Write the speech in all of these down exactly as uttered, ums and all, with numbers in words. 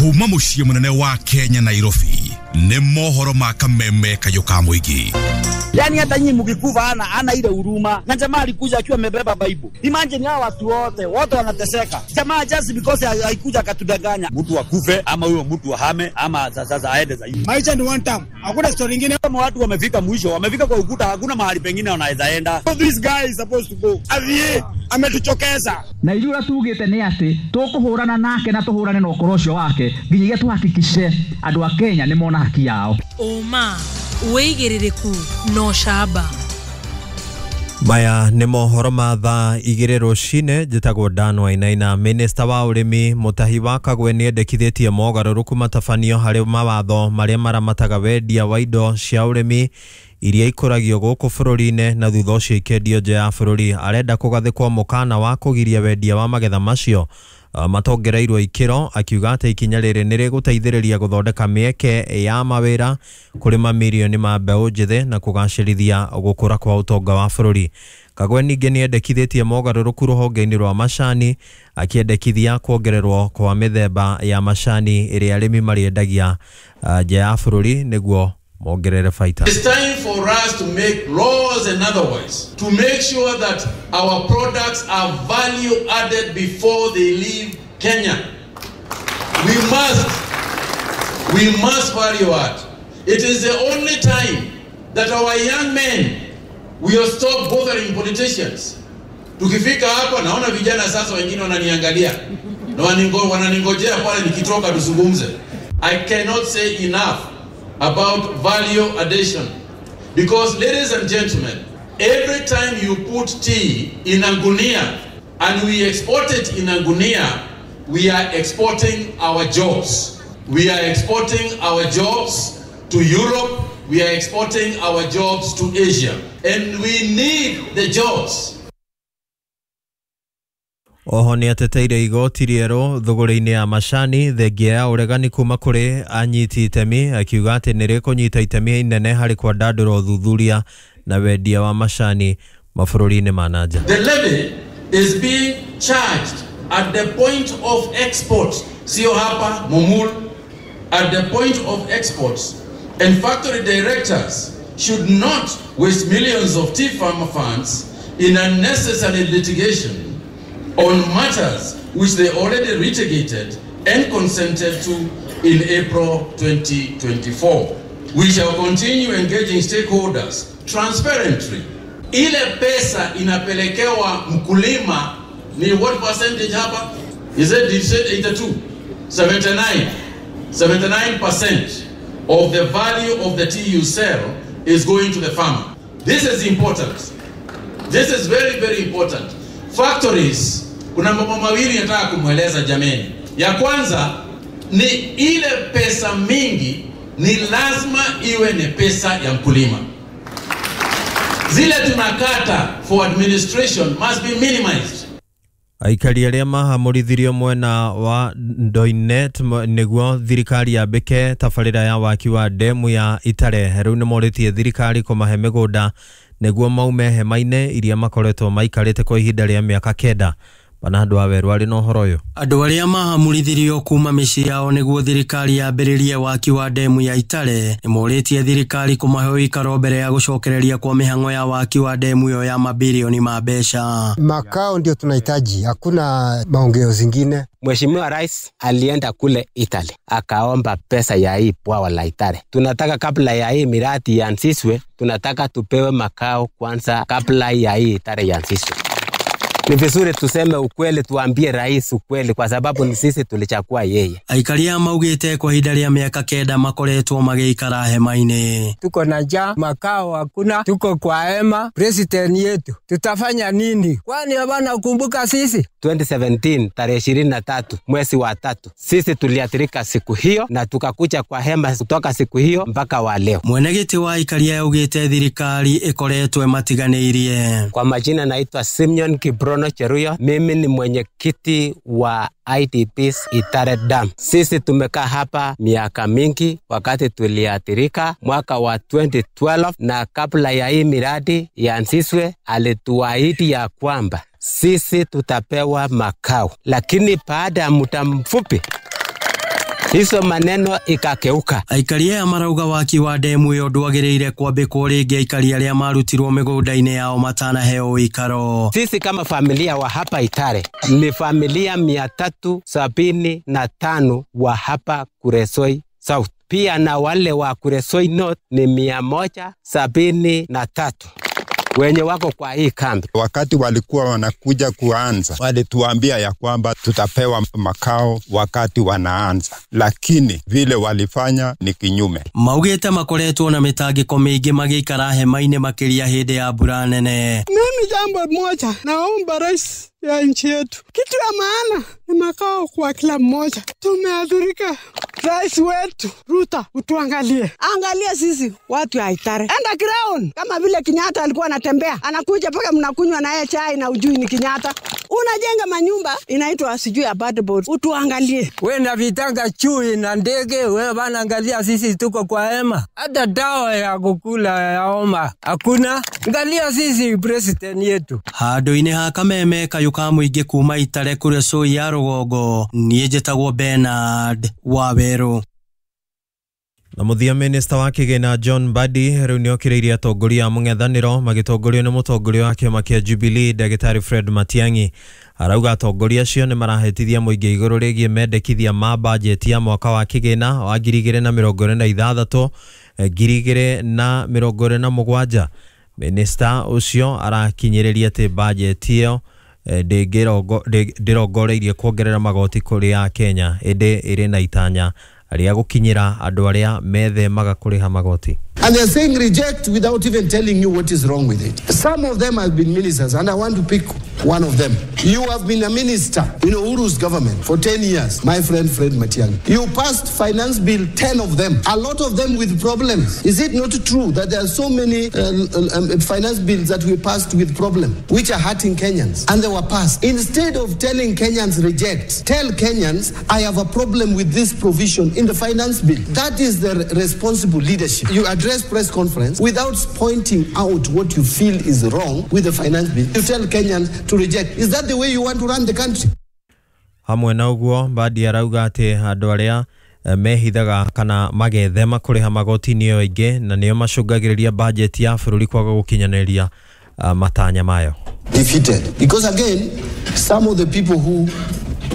Kuma muciĩ munene wa Kenya Nairobi nĩ mohoro ma kameme kayũ ka mũingĩ. Yani hata nyinyi mkikufa ana ana ile huruma. Na jamaa alikuja akiwa amebeba Bible. Imagine hao watu wote, wote wanateseka. Jamaa just because haikuja akatudanganya. Mtu akufe ama huyo mtu ahame ama sasa aende zaidi. Maisha ni one time. Hakuna story nyingine. Kama watu wamefika mwisho, wamefika kwa ukuta, hakuna mahali pengine wanaweza enda. So this guy is supposed to go. Avie ametuchokeza. Na ithuĩ ũrĩa tugĩte nĩ atĩ tũkũhũrana nake na tũhũrane na ũkora ũcio wake nginyagia tuhakikishe andũ a Kenya nĩ mona haki yao. Ũma wĩigĩrĩrĩku na ũcamba. Maya nĩ mohoro ma thaa igĩrĩ rũcinĩ. Njĩtagwo Dan Wainaina. Minista wa ũrĩmi Mutahi wa Kagwe nĩendekithĩtie mogarũrũku matabanio harĩ mawatho marĩa maramataga wendia wa indo cia ũrĩmi iria ikũragio gũkũ bũrũri-inĩ na thutha ũcio ikendio nja ya bũrũri. Arenda kũgathĩkwo mũkana wa kũgiria wendia wa magetha macio matongereirwo ikĩro, akiuga atĩ ikinya rĩrĩ nĩ rĩgũteithĩrĩria gũthondeka mĩeke ya mawĩra kũrĩ mamirioni ma mbeũ njĩthĩ na kũgacĩrithia gũkũra kwa ũtonga wa bũrũri. Kagwe ningĩ nĩendekithĩtie mogarũrũku rũhonge-inĩ rwa macani, akĩendekithia kuongererwo kwa mĩthemba ya macani ĩrĩa arĩmi marĩendagia nja ya bũrũri nĩguo mongerere baita. It's time for us to make laws and otherwise to make sure that our products are value added before they leave Kenya. We must, we must value add. It is the only time that our young men will stop bothering politicians. Tukifika hapa naona vijana sasa wengine wananiangalia na wananingojea pale nikitoka tuzungumze. I cannot say enough about value addition, because ladies and gentlemen, every time you put tea in a gunia and we export it in a gunia, we are exporting our jobs. We are exporting our jobs to Europe, we are exporting our jobs to Asia, and we need the jobs. Oho nĩ ateteire igoti rĩerũ thũgũrĩ-inĩ ya macani thengia ya ũregani kuma kũrĩ anyiti itemi, akiuga atĩ nĩ rĩkũnyita itemi inene harĩ kwandandũra ũthuthuria na wendia wa macani mabũrũri-inĩ ma na nja. The levy is being charged at the point of export, sio hapa Mumul, at the point of exports, and factory directors should not waste millions of tea farmer funds in unnecessary litigation on matters which they already litigated and consented to in April twenty twenty-four. We shall continue engaging stakeholders transparently. Ile pesa inapelekewa mkulima ni what percentage hapa? Is it, you said eighty-two? seventy-nine. seventy-nine percent of the value of the tea you sell is going to the farmer. This is important. This is very, very important. Factories, kuna mambo mawili nataka kumweleza jameni. Ya kwanza ni ile pesa mingi ni lazima iwe ni pesa ya mkulima. Zile tunakata for administration must be minimized. Aikari arĩa mahamũrithirio mwena wa Ndoinet nĩguo thirikari yambĩke tabarĩra ya waki wa demu ya Itare rĩu nĩmorĩtie thirikari kũmahe mĩgũnda nĩguo maume hema-inĩ iria makoretwo maikarĩte kwa ihinda rĩa mĩaka kenda. Bernardo Waweru arĩ na ũhoro ũyũ. Andũ arĩa mahamũrithirio kuma mĩciĩ yao nĩguo thirikari yambĩrĩrie waki wa demu ya Itare nĩmorĩtie thirikari kũmahe ũikaro mbere ya gũcokereria kwa mĩhang'o ya waki wa demu ĩyo ya mabilioni ma mbeca. Makao ndio tunahitaji, hakuna maongeo zingine. Mheshimiwa Rais alienda kule Italy akaomba pesa ya hii bwawa la Itare. Tunataka kabla ya hii miradi ianzishwe, tunataka tupewe makao kwanza kabla ya hii Itare ianzishwe. Ni vizuri tuseme ukweli, tuambie rais ukweli, kwa sababu ni sisi tulichagua yeye. Aikari a maugite kwa ihinda rĩa mĩaka kenda makoretwo magĩikara hema-inĩ. Tuko na njaa, makao hakuna, tuko kwa hema. President yetu tutafanya nini? Kwani hawana kumbuka sisi? twenty seventeen tarehe ishirini na tatu mwezi wa tatu sisi tuliathirika siku hiyo na tukakuja kwa hema kutoka siku hiyo mpaka wa leo. Mwenegiti wa aikari augite thirikari ikoretwo matiganĩirie. Kwa majina naitwa Simeon Kibrono Cheruyo, mimi ni mwenyekiti wa I D Ps Itare Dam. Sisi tumekaa hapa miaka mingi wakati tuliathirika mwaka wa twenty twelve, na kabla ya hii miradi ianzishwe alituahidi ya kwamba sisi tutapewa makao, lakini baada ya muda mfupi Hizo maneno ikakeuka. Aikari aya marauga waki wa demu ĩyo ndwagĩrĩire kwambĩkwo rĩngĩ aikari arĩa marutirwo mĩgũnda-inĩ yao matanaheo ũikaro. Sisi kama familia wa hapa Itare ni familia mia tatu sabini na tano wa hapa Kuresoi South, pia na wale wa Kuresoi North ni mia moja sabini na tatu wenye wako kwa hii kambi. Wakati walikuwa wanakuja kuanza, walituambia ya kwamba tutapewa makao wakati wanaanza, lakini vile walifanya ni kinyume. Maugĩte makoretwo na mĩtangĩko mĩingĩ magĩikara hema-inĩ makĩria hĩndĩ ya mbura nene. Mimi jambo moja naomba rais ya nchi yetu, kitu ya maana ni makao kwa kila mmoja. Tumeathirika. Rais wetu Ruto, utuangalie, angalia sisi watu ya Itare. Enda ground kama vile Kenyatta alikuwa anatembea, anakuja mpaka mnakunywa naye chai na ujui ni Kenyatta. Unajenga manyumba inaitwa sijui apartment, utuangalie. We na vitanga chui na ndege, we bana, angalia sisi tuko kwa hema, hata dawa ya kukula ya homa hakuna. Angalia sisi president yetu. Handũ-inĩ ha kameme kayũ ka mũingĩ kuma Itare Kuresoi ya rũgongo, niĩ njĩtagwo Bernard Wawerũ. Na mũthia, minista wa kĩgĩna John Mbadi rĩu nĩokĩrĩirie atongoria a mũng'ethanĩro magĩtongorio nĩ mũtongoria wa kĩama kĩa Jubilee ndagĩtarĩ Fred Matiang'i. Arauga atongoria acio nĩ marahĩtithia mũingĩ igũrũ rĩgiĩ mendekithia ma bajeti ya mwaka wa kĩgĩna wa ngiri igĩrĩ na mĩrongo ĩrĩ na ithathatũ ngiri igĩrĩ na mĩrongo ĩrĩ na mũgwanja. Minista ũcio arakinyĩrĩria atĩ bajeti ĩyo ndĩrongoreirie kuongerera magoti kũrĩ Akenya, ĩndĩ ĩrĩ na itanya rĩa gũkinyĩra andũ arĩa methemaga kũrĩha magoti. And they're saying reject without even telling you what is wrong with it. Some of them have been ministers, and I want to pick one of them. You have been a minister in Uhuru's government for ten years, my friend Fred Matiang'i. You passed finance bill, ten of them, a lot of them with problems. Is it not true that there are so many uh, um, finance bills that we passed with problems, which are hurting Kenyans, and they were passed? Instead of telling Kenyans reject, tell Kenyans, I have a problem with this provision in the finance bill. That is the responsible leadership. You address press conference without pointing out what you feel is wrong with the finance bill. You tell Kenyans to reject. Is that the way you want to run the country? Hamwe na ũguo, Mbadi arauga atĩ andũ arĩa mehithaga kana magethema kũrĩha magoti nĩo aingĩ na nĩo macũngagĩrĩria bajeti ya bũrũri kwaga gũkinyanĩria matanya mayo. Defeated. Because again, some of the people who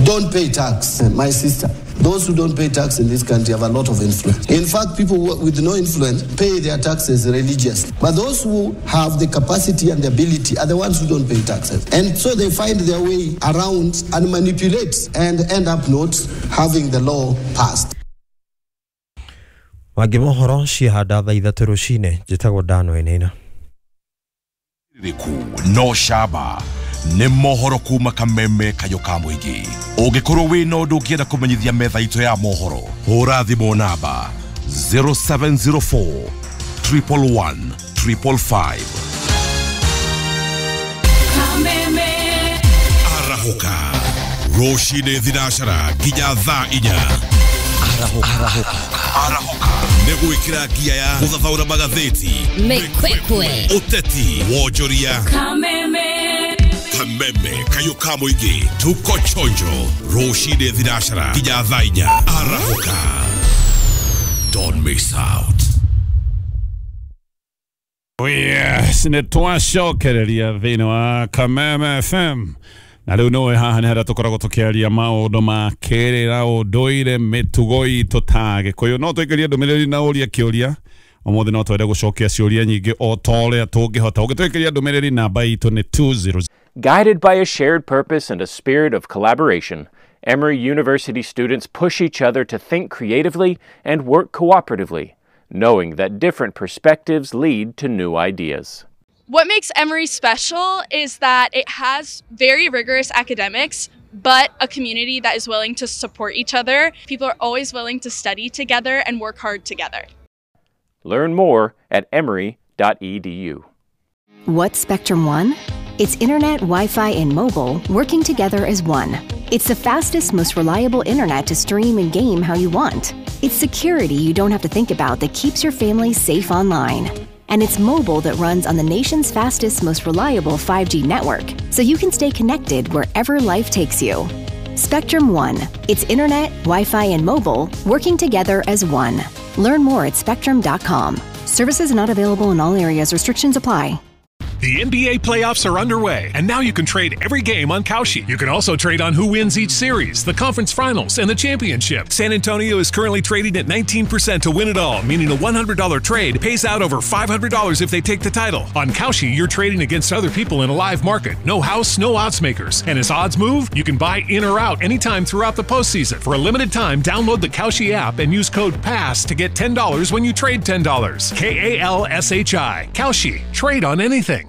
don't pay tax, my sister, those who don't pay tax in this country have a lot of influence. In fact, people with no influence pay their taxes religiously. But those who have the capacity and the ability are the ones who don't pay taxes. And so they find their way around and manipulate and end up not having the law passed. Mangĩ mohoro ciahanda thaa ithatũ rũcinĩ, njĩtagwo Dan Wainaina. No shaba nĩ mohoro kuma kameme kayũ ka mũingĩ. Ũngĩkorwo wĩna ũndũ ũngĩenda kũmenyithia metha itũ ya mohoro, hũra thimũ namba zero seven zero four triple one triple five. Kameme arahũka rũcinĩ thinacara nginya thaa inya. Arahũka arahũka nĩ gwĩkĩra ngia ya gũthathaũra magathĩti, mĩkwekwe, ũteti, wonjoria. Kameme Kameme kayũ ka mũingĩ, tuko chonjo rũcinĩ thinacara nginya thaa inya. Arahũka, don't miss out. Yes, nĩ twacokereria thĩinĩ wa Kameme F M. Na rĩu nĩũĩ haha nĩ harĩa tũkoragwo tũkĩaria maũndũ ma kĩrĩra, ũndũire, mĩtugo itũ ta Gĩkũyũ. No tũikĩrie ndũmĩrĩri na ũrie kĩũria. Ũmũthĩ no twende gũcokia ciũria nyingĩ o ta ũrĩa tũngĩhota. Ũngĩtũikĩria ndũmĩrĩri namba itũ nĩ two zero. Guided by a shared purpose and a spirit of collaboration, Emory University students push each other to think creatively and work cooperatively, knowing that different perspectives lead to new ideas. What makes Emory special is that it has very rigorous academics, but a community that is willing to support each other. People are always willing to study together and work hard together. Learn more at emory dot e d u. What's Spectrum One? It's internet, Wi-Fi, and mobile working together as one. It's the fastest, most reliable internet to stream and game how you want. It's security you don't have to think about that keeps your family safe online. And it's mobile that runs on the nation's fastest, most reliable five G network, so you can stay connected wherever life takes you. Spectrum One. It's internet, Wi-Fi, and mobile working together as one. Learn more at spectrum dot com. Services not available in all areas. Restrictions apply. The N B A playoffs are underway, and now you can trade every game on Kalshi. You can also trade on who wins each series, the conference finals, and the championship. San Antonio is currently trading at nineteen percent to win it all, meaning a one hundred dollar trade pays out over five hundred dollars if they take the title. On Kalshi, you're trading against other people in a live market. No house, no odds makers. And as odds move, you can buy in or out anytime throughout the postseason. For a limited time, download the Kalshi app and use code PASS to get ten dollars when you trade ten dollars. K A L S H I. Kalshi. Trade on anything.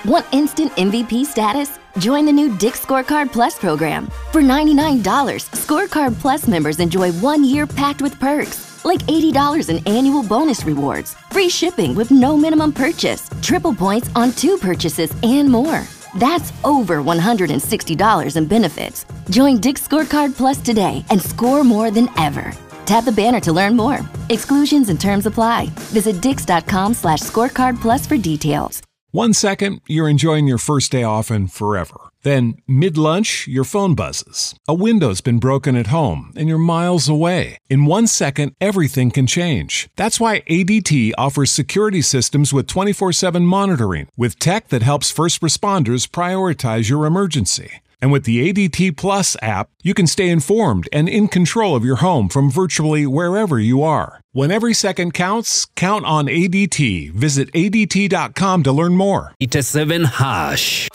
Want instant M V P status? Join the new Dick's Scorecard Plus program. For ninety-nine dollars, Scorecard Plus members enjoy one year packed with perks, like eighty dollars in annual bonus rewards, free shipping with no minimum purchase, triple points on two purchases, and more. That's over one hundred sixty dollars in benefits. Join Dick's Scorecard Plus today and score more than ever. Tap the banner to learn more. Exclusions and terms apply. Visit dicks.com slash scorecard plus for details. One second, you're enjoying your first day off and forever. Then, mid-lunch, your phone buzzes. A window's been broken at home, and you're miles away. In one second, everything can change. That's why A D T offers security systems with twenty-four seven monitoring, with tech that helps first responders prioritize your emergency. And with the A D T Plus app, you can stay informed and in control of your home from virtually wherever you are. When every second counts, count on A D T. Visit A D T dot com to learn more. eighty-seven hash.